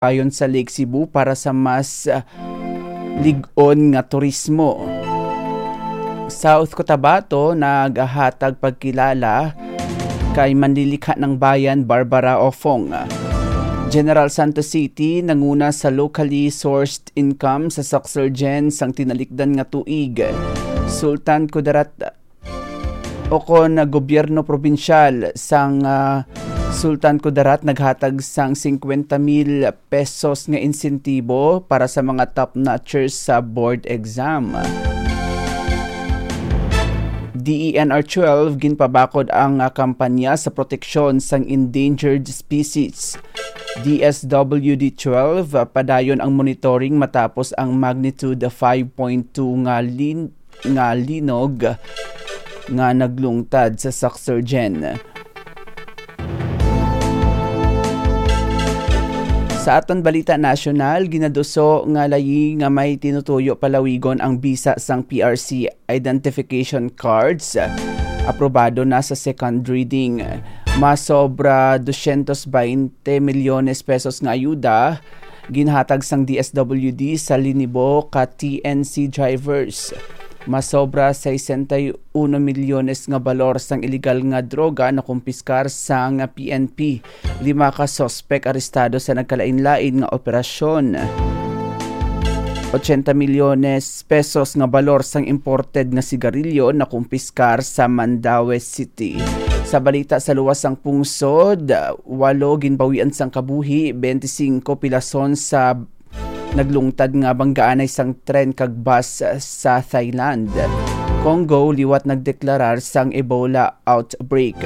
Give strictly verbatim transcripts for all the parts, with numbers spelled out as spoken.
bayon sa Lake Cebu para sa mas, ah, lig-on nga turismo. South Cotabato nagahatag pagkilala kay Manlilikha ng Bayan Barbara Ofong. General Santos City nanguna sa locally sourced income sa Sucsergen sang tinalikdan nga tuig. Sultan Kudarat o kon gobyerno probinsyal sang, ah, Sultan Kudarat naghatag sang singkwenta mil pesos nga insentibo para sa mga top notchers sa board exam. D E N R twelve ginpabakod ang, ah, kampanya sa proteksyon sang endangered species. D S W D twelve, ah, padayon ang monitoring matapos ang magnitude five point two nga lin-, nga linog nga naglungtad sa Sucsergen. Sa aton balita nasyonal, ginaduso nga layi nga may tinutuyo palawigon ang bisa sang P R C identification cards. Aprobado na sa second reading. Masobra dosyentos baynte milyones pesos nga ayuda ginhatag sang D S W D sa linibo ka T N C drivers. Masobra sesenta y uno milyones nga balor sang iligal nga droga nakumpiskar sang P N P. Lima ka suspek arestado sa nagkalain-lain nga operasyon. Ochenta milyones pesos nga balor sang imported nga sigarilyo nakumpiskar sa Mandaue City. Sa balita sa luwas sang pungsod, walo ginbawian sang kabuhi, bente singko pilason sa naglungtad nga banggaanay sang tren kag bus sa Thailand. Congo liwat nagdeklarar sang Ebola outbreak.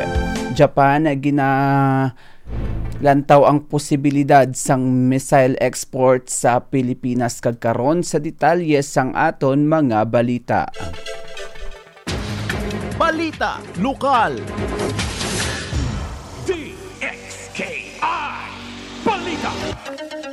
Japan ginalantaw ang posibilidad sang missile export sa Pilipinas, kag karon sa detalye sang aton mga balita. Balita lokal.